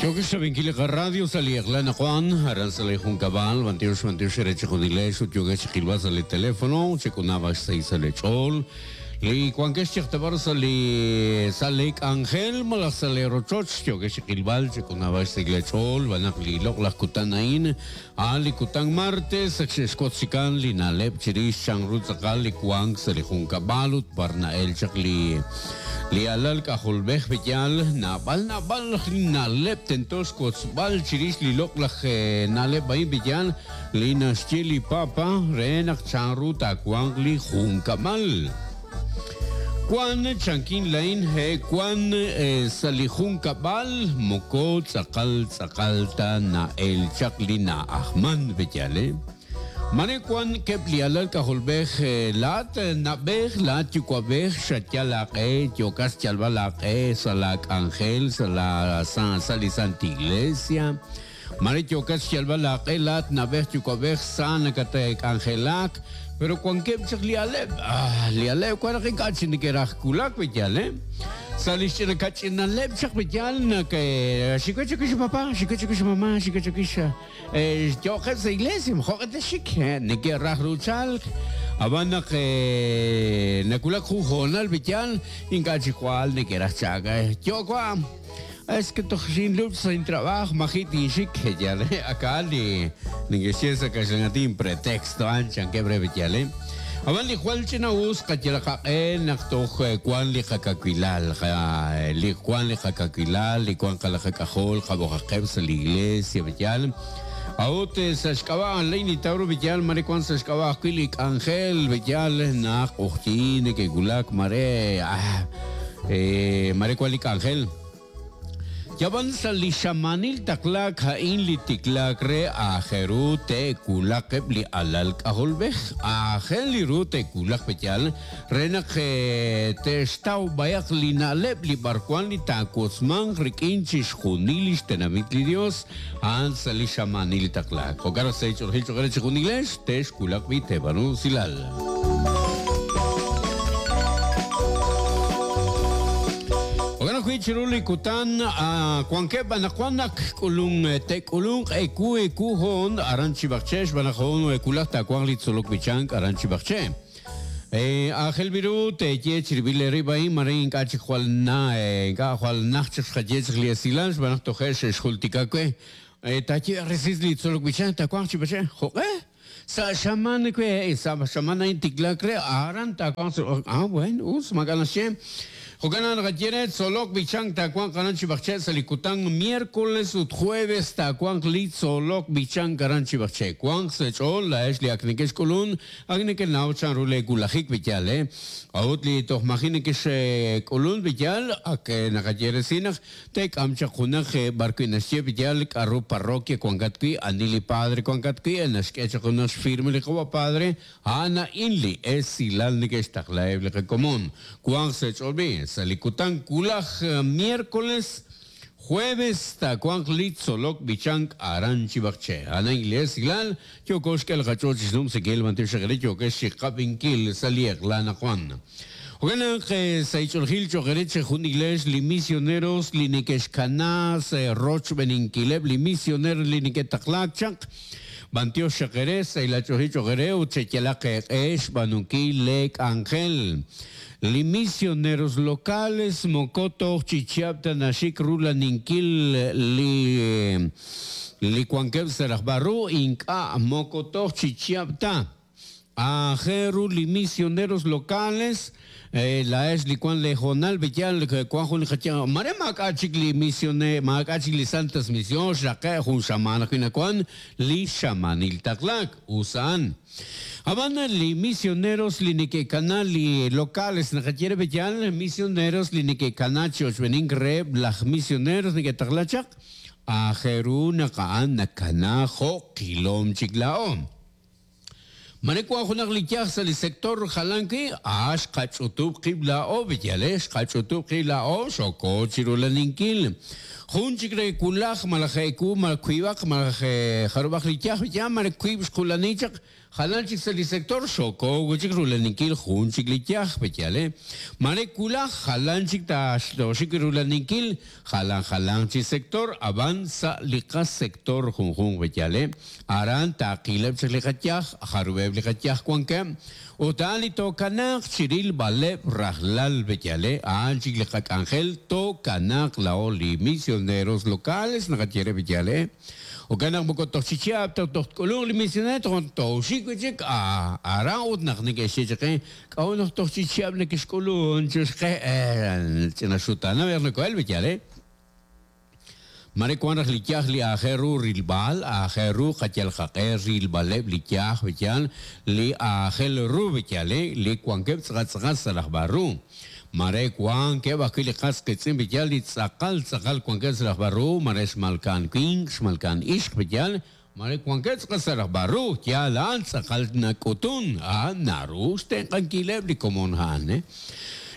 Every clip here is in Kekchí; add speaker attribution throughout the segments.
Speaker 1: Yookeb' xrab'inkil li qaradio sa' li eq'la anaqwan, aran sa' li junkab'al, b'antiox b'antiox eere chejunilex ut yookeb' chiqilb'al sa' li telefono, chek'unab'aq xsahil sa' lee ch'ool. Li wankex chiqtab'ar sa' li sa' lee k'anjel malaj sa' lee rochoch, yookeb' chiqilb'al, chek'unab'aq xsahil lee ch'ool, xb'aan naq li loq'laj kutan a'in, a'an li kutan martes, ak xe'xwotz chikan li na'leb' chirix chanru tz'aqal li wank sa' li junkab'al ut b'ar na'el chaq li li alal k'ajolb'ej b'eyal. Naab'al naab'al li na'leb' tento xwotzb'al chirix li loq'laj na'leb' a'in b'eyal li naxye li Papa re naq chanru taawanq li junkab'al. Wan chankin lain he wan sa' li junkab'al moko tz'aqal tz'aqal ta na'el chaq li na'ajman b'eyal. Mare wan keb' li alal k'ajolb'ej laa'at na'b'ej laa'at yuwa'b'ej xayal aaq'e yookat xyalb'al aaq'e sa' laak'anjel sa' la sa' li Santa Iglesia. Mare yookat xyalb'al aaq'e laa'at na'b'ej yuwa'b'ej sa nakatk'anjelak, pero wankeb' chaq li aleb', ah, li aleb' wan naq ink'a' chik neke'raj wulak wi yaal, eh? Sa' li xch'ina kach'inaleb' chaq wi yaal naq xik we chawix papá, xik we chawix mamá, xik we chawix yo'qeb' sa' iglesia, jo'q'e texxik, neke'raj ru chalk, ab'an naq nawulak jun hoonal wi yaal ink'a' chik jwal neke'raj chalk, yo' wa'. Es que toj xinlub' sa' intrab'aaj maji' tinxik, yal aka li neke'xye sa' kaxlan'aatin pretexto a'an chankeb' re yal. Ab'an li jwal ch'ina'us qayalaq qaq'e naq toj wan li qakawilal, li wan li qakawilal, li wan qalaqak'ajol qab'oqaqeb' sa' li iglesia yal. A'ut sa' xk'ab'a' lay nintaw ru yal mare wan sa' xk'ab'a' ajwi' li k'anjel yal naq q'ojyin neke'wulak mare mare wan li k'anjel. Yab'an sa' li xamaanil taqlaak a'in li tiklaak re aajel ru te'wulaq eb' li alal k'ajolb'ej. Aajel li ru te'wulaq pe'yaal re naq te'xtaw b'ayaq li na'leb' li b'arwan li taawotzmanq rik'in chixjunil li xtenamit li Yos a'an sa' li xamaanil taqlaak. Jo'kan naq sa' li ch'oolejil cho'q re chejunilex texwulaq b'i' teeb'aanu usilal. Jo'kan ajwi' chiru li kutan wankeb' anaqwan naq k'ulun te'k'ulunq ewu ewu hoon aran Chib'aqche' xb'aan naq hoon wulaj taawanq li tzolok b'ichank aran Chib'aqche'. Aajel b'i ru teeye chirib'il eerib' a'in mare ink'a' chik jwal na ink'a' jwal najt chik xqaye chaq li esilal xb'aan naq toje' xe'xjultika we. Taaye resil li tzolok b'ichank taawanq Chib'aqche'. Jo'q'e? Sa' xamaan we, sa' xamaan a'in tiklaak re, aran taawanq sa' Ah, bueno, us, maak'a' naxye. Jo'kan naq naqaye re, tzolok b'ichank taawanq aran Chib'aqche' sa' li kutan miércoles ut jueves taawanq li tzolok b'ichank aran Chib'aqche'. Wanq sa' eech'ool laa'ex li ak nekexk'ulun, ak nekenaw chanru lee wulajik b'iyal, eh. A'ut li toj maji' nekexk'ulun b'iyal, ak naqaye resil naq Teek'am chaq junaq b'ar wi' naxye b'iyal k'a'ru parroquia wankat wi', ani li padre wankat wi', naxk'e chaq junaq xfirma li qawa' padre, a'an a'in li esilal neke'xtaqlaheb' li qakomon. Wanq sa' eech'ool b'i', sa' li kutan wulaj miércoles, jueves taawanq li tzolok b'ichank aran Chib'aqche'. A'an a'in li esilal yooko xk'e li qach'ool chi xnumsinkil, b'antiox xaq eere yookex chi qab'inkil sa' li eq'la anaqwan. Jo'kan naq sa' ich'oolejil cho'q eere chejunilex li misioneros li neke'xkana sa' rochb'eeninkileb' li misioneer li neke'taqlaak chaq, b'antiox xaq eere sa' ilach'oolejil cho'q eere ut cheyalaq eeq'e xb'aanunkil lee k'anjel. Li misioneros locales moko toj chi chihab' ta naxik rulaninkil li li wankeb' sa' rajb'al ru, ink'a' moko toj chi chihab' ta. Aajel ru li misioneros locales, laa'ex li wan lee hoonal, b'iyal wan jun li qaye, mare maak'a' chik li misione, maak'a' chik li santas mision, xraqe' jun xamaan ajwi' nawan li xamaanil taqlaak, us a'an. Ab'an li misioneros li neke'kana li locales naqaye re b'iyal, misioneros li neke'kana chi ochb'eenink reheb' laj misioneros neke'taqla chaq, aajel ru naq a'an nakana jo' qilom chik laa'o. Mare wank junaq li yaj sa' li sector jalan wi', a xqach'utub' qib' laa'o, b'iyale, xqach'utub' qib' laa'o, xoko chi rulaninkil. Jun chik re wulaj malaj eewu malaj wiib'aq malaj jarub'aq li yaj ya mare wiib' xqulani chaq jalan chik sa' li sector xoko wi' chik rulaninkil jun chik li yaj b'eyal mare wulaj jalan chik taaxik rulaninkil jalan jalan chi sector ab'an sa' li qasector junjunq b'eyal aran taaqileb' chik li qayaj jarub'eb' li qayaj wankeb' ut a'an li tookanaaq chirilb'aleb' rajlal b'eyal a'an chik li qak'anjel tookanaaq laa'o li misioneros locales naqaye re b'eyal jo'kan naq moko toj chi chihab' toj tk'ulunq li misionero toj tooxik wi' chik aran ut naq neke'xye chaq qe k'a'ut naq toj chi chihab' neke'xk'ulun chixqe ch'ina xutaana ver nakohel b'eyal mare wan raj li yaj li aajel ru rilb'al aajel ru qayal qaq'e rilb'aleb' li yaj b'eyal li aajel ru b'eyal li wankeb' tz'aqal tz'aqal sa' laj barru mare wankeb' ajwi' li qas qiitz'in b'eyal li tz'aqal tz'aqal wankeb' sa' laj barru mare xmalka'an winq xmalka'an ixq b'eyal mare wankeb' tz'aqal sa' laj barru yaal a'an tz'aqal nak'utun a'an naru xtenq'ankileb' li komon a'an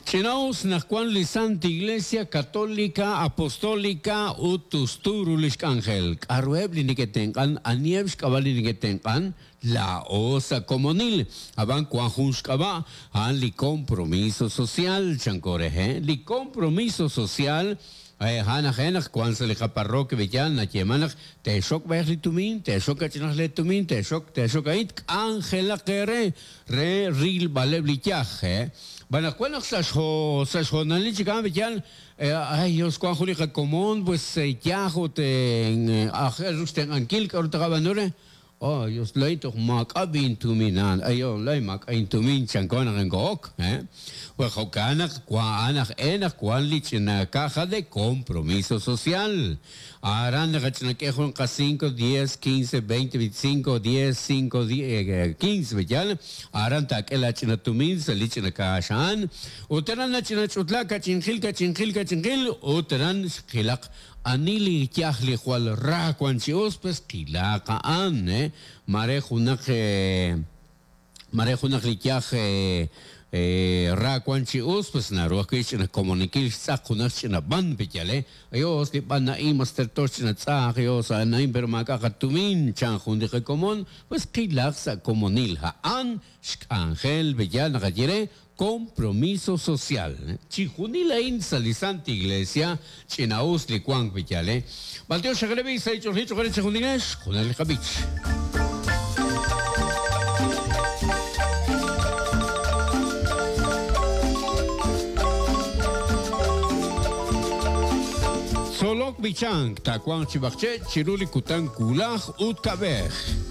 Speaker 1: Ch'inaus naq wan li Santa Iglesia Católica Apostólica ut tustu ru li xk'anjel. K'a'ruheb' li neke'tenq'an? Aniheb' xk'ab'a' li neke'tenq'an? Laa'o sa' komonil. Ab'an wan jun xk'ab'a', a'an li compromiso social, chanko re, Li compromiso social a'an aj e naq wan sa' li qaparroquia b'eyal nayeeman naq teexok b'ayaq li tumin, teexok kach'inaq le tumin, teexok teexok a'in k'anjelaq eere re rilb'aleb' li yaj, B'an naq wan naq sa' sa' xhoonalil chik a'an b'eyal ay Dios wan jun li qakomon pues yaj ut aajel ru xtenq'ankil k'a'ru taqab'aanu re oh Dios lay toj maak'a' b'intuminan ayo lay maak'a' intumin chanko naq inko'ok pues jo'kan naq a'an aj e naq wan li ch'ina caja de compromiso social aran naqach'inak'e jun qa 5 10 15 20 25 10 5 10 15 b'eyal aran taak'e la ch'ina tumin sa' li ch'ina kaax a'an ut aran nach'ina ch'utla kach'inqil kach'inqil kach'inqil ut aran xqilaq ani li yaj li jwal ra wan chi us pues qilaq a'an mare junaq mare junaq li yaj ra wan chi us pues naru ajwi' xch'ina komonikil xtz'aq junaq xch'ina b'an b'eyal ayos li b'an a'in mas terto xch'ina tz'aq ayos a'an a'in pero maak'a' qatumin chan jun li qakomon pues qilaq sa' komonil a'an xk'anjel b'eyal naqaye re compromiso social chijunil a'in sa' li Santa Iglesia ch'ina'us li wank b'eyal b'antiox xaqrebi sa' ich'olji ch'oqre chijunilex junal li qab'ich. Tzolok b'ichank taawanq chi b'aqche' chiru li kutan wulaj ut kab'ej.